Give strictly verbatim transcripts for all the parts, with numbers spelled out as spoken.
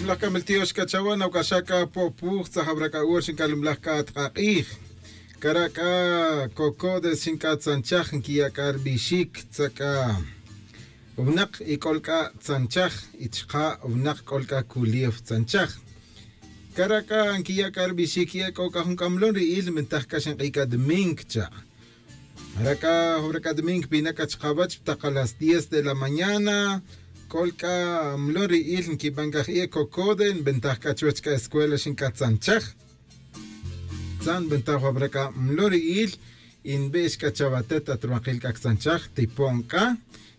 Laj c'a miltiox c'a chawe nawc'axaj c'a po'puj tzajawra c'a ur xinc'alemlaj c'a atk'ak'ij. Cara' c'a cocodes xinc'a tzanchaj nquiya' c'a ri bixic tza'c'a winak y c'ol c'a tzanchaj y chka' winak c'ol c'a culiew tzanchaj. Cara' c'a nquiya' c'a ri bixic y ec'o c'a jun c'a mlon ri'il nbintaj c'a xink'i c'a domingo cha'. Jara' c'a jawra c'a domingo nbina' c'a chkawech ptaka las diez de la mañana. C'ol c'a mlon ri'il nquiban c'a jie' cocode nbintaj c'a chuwech c'a escuela xinc'a tzanchaj. Tzan nbintaj jawra c'a mlon ri'il y nbix c'a chawatet at ruwankil c'a ctzanchaj tipo'n c'a.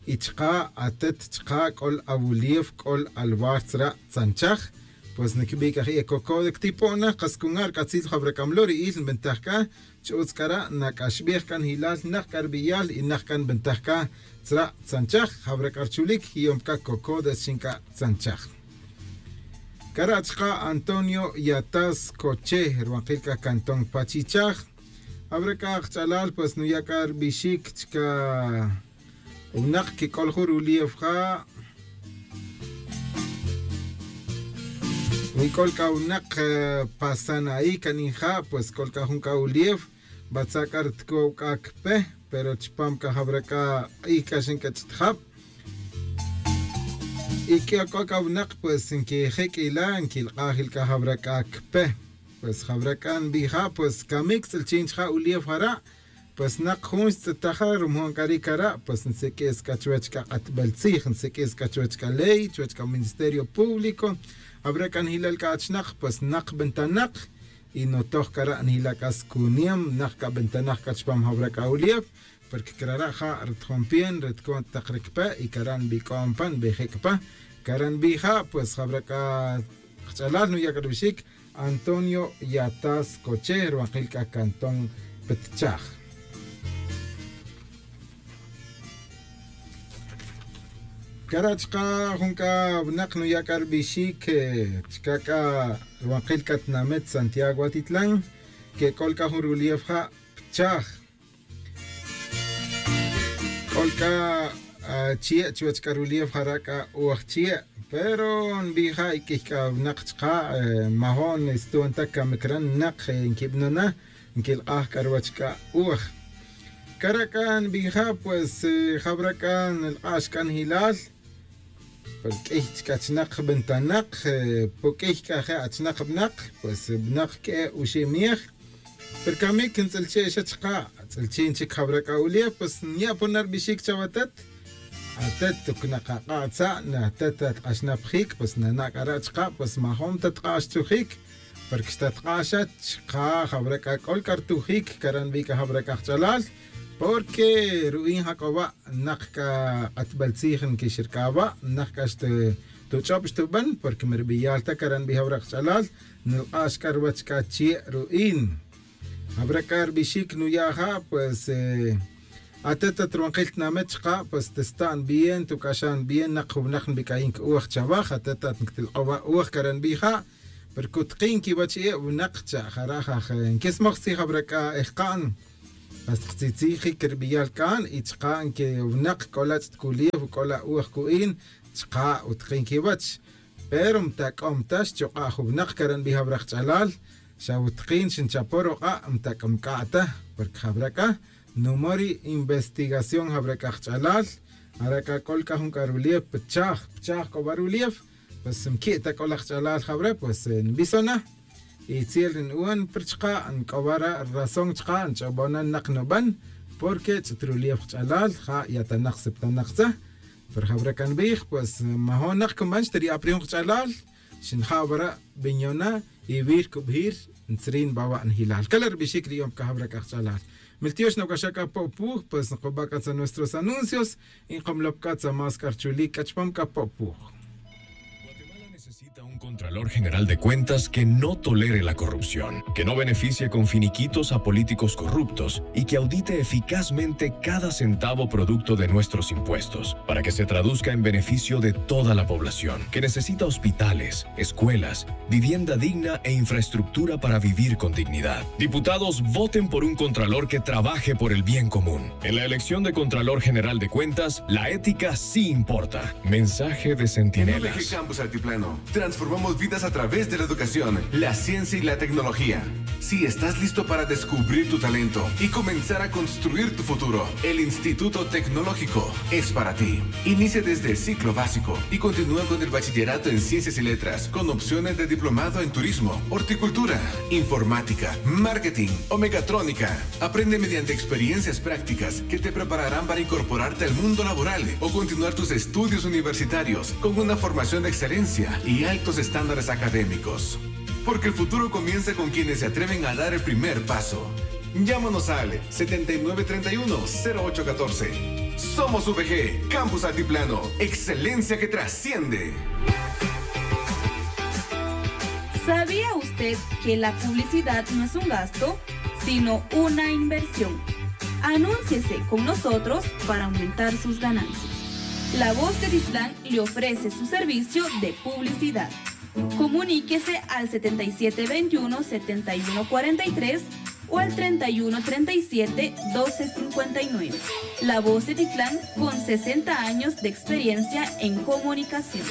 Y chka' atet chka' c'ol awuliew c'ol aluar tzra' tzanchaj. Pues nquibi' c'a jie' cocode ctipo'na kas cunga' ri c'atzil jawra c'a mlon ri'il nbintaj c'a. Ch'utz c'a ra' nac'axbej c'a njilal nak c'a ri biyal y nak c'a nbintaj c'a tzra' tzanchaj jawra c'a ri chulic yom c'a cocodes xinc'a tzanchaj. Cara' chka' antonio yatas coche ruwankil c'a cantón pachichaj. Jawra c'a kach'alal pues nuya' c'a ri bixic chca winak quic'ol jun rulief ja'. Wi c'ol c'a winak pasana'i c'a ninja' pues c'ol c'a jun c'a ulief. Batza' c'a ri tcow c'a cpe pero chupam c'a jawra c'a k'ij c'a xinc'a ch'tjab. Y c'o c'a winak pues nquijec' ila' nquilk'aj il c'a jawra c'a cpe. Pues jawra c'a nbija' pues camic tz'ilchin chija' ulief jara'. Pues nak jun xtz'etaja rumojon c'a ri cara' pues nsiq'uis c'a chuwech c'a k'atbel tzij nsiq'uis c'a chuwech c'a ley chuwech c'a ministerio público. Jawra c'a njilal c'a achinak pues nak bentanak. Y notoj cara' njila' c'a scunem nak c'a bentanak c'a chupam jawra c'a ulief. Porque cara' ja' ri tjon pien ri tcon tak ri cpe y cara' nbic'om pa nbijec' pa. Cara' nbija' pues jawra c'a kach'alal nuya' c'a rubixic antonio yatas coche ruwankil c'a cantón pitchaj. Cara' chka jun c'a winak nuya' c'a rubixic chca c'a ruwankil c'a tinamit santiago atitlan. Que c'ol c'a jun rulief ja' pitchaj. C'ol c'a chie' chuwech c'a rulief jara' c'a uj chie'. Pero nbija' y q'uiy c'a winak chka' majo'n stuon ta camic re nak nquibano' na nquilk'aj c'a ruwech c'a uj. Cara' c'a nbija' pues jawra c'a nlk'ax c'a njilal. Pero q'uiy chca achinak bentanak. Pu q'uiy c'a je' achinak bnak pues bnak q'ue' uxi' miej. Pero camic ntz'ilche' xa chka' tz'ilchin chic jawra c'a ulief pues nya' pon na rubixic chawatet. Atet toc nakak'a' tza' natet atk'axnapijic pues nana' c'a ra' chka' pues majon ta tk'a' xtzujic. Porque xtatk'a' xa chka' jawra c'a c'ol c'a rtujic cara' nbi' c'a jawra c'a kach'alal. Porque ru'in jac'o wa' nak c'a k'atbel tzij nquixrc'a wa' nak c'a xtuch'ob xtuban porque mi ribiyal ta cara' nbi' jawra kach'alal. Nlk'ax c'a ruwech c'a chie' ru'in. Jawra c'a rubixic nuya' ja' pues atet at ruwankil tinamit chka' pues testa'n bien tuc'axa'n bien nak jun winak nbic'ayin c'uj chawaj atet at nctilk'owa' uj cara' nbija'. Pero cutkin quiwech e' winak cha' jara' jaj nquesmoj tzij jawra c'a ejka'n. Hasta ktzitzijic ribiyal c'an y chka' nquewinak c'ola ch'tculiw c'ola uj cu'in. Chka' utkin quiwech. Pero mtac'om ta xchuk'a' jun winak cara' nbij awra kach'alal. Xa utkin xinchapo ruk'a' mtac'om c'a' ta. Porque jawra c'a numo' ri investigación jawra c'a kach'alal. Jara' c'a c'ol c'a jun c'a rulief pchaj pchaj c'o wa rulief. Pues mqui' ta c'o laj kach'alal jawra pues nbison na. Y tziel ri nu'on pero chka' nc'o wa ra razón chka' nch'obon na nak nuban. Porque ch'it rulief kach'alal ja' yatanak septanak tza. Pero jawra c'a nbij pues majonak cunban xtari'a' pa ri jun kach'alal. Xinja' wara' binyon na y wir cubijir ntzrin bawa' njilal cala' rubixic ri yom c'a jawra c'a kach'alal. Miltiox nawac'axa c'a po'puj pues nkuba' c'a tza nuestros anuncios. Y nkamlop c'a tza más c'a rchulic c'a chupam c'a po'puj. Guatemala necesita un Contralor General de Cuentas que no tolere la corrupción, que no beneficie con finiquitos a políticos corruptos y que audite eficazmente cada centavo producto de nuestros impuestos, para que se traduzca en beneficio de toda la población, que necesita hospitales, escuelas, vivienda digna e infraestructura para vivir con dignidad. Diputados, voten por un Contralor que trabaje por el bien común. En la elección de Contralor General de Cuentas, la ética sí importa. Mensaje de Centinela. En O V G Campus Altiplano, Transformamos vidas a través de la educación, la ciencia y la tecnología. Si estás listo para descubrir tu talento y comenzar a construir tu futuro, el Instituto Tecnológico es para ti. Inicia desde el ciclo básico y continúa con el bachillerato en ciencias y letras, con opciones de diplomado en turismo, horticultura, informática, marketing o mecatrónica. Aprende mediante experiencias prácticas que te prepararán para incorporarte al mundo laboral o continuar tus estudios universitarios con una formación de excelencia y altos estándares académicos. Porque el futuro comienza con quienes se atreven a dar el primer paso. Llámanos al setenta y nueve treinta y uno, cero ocho catorce. Somos V G, Campus Altiplano, excelencia que trasciende. ¿Sabía usted que la publicidad no es un gasto, sino una inversión? Anúnciese con nosotros para aumentar sus ganancias. La Voz de Titlán le ofrece su servicio de publicidad. Comuníquese al setenta y siete veintiuno, setenta y uno cuarenta y tres o al treinta y uno treinta y siete, doce cincuenta y nueve. La Voz de Titlán, con sesenta años de experiencia en comunicación.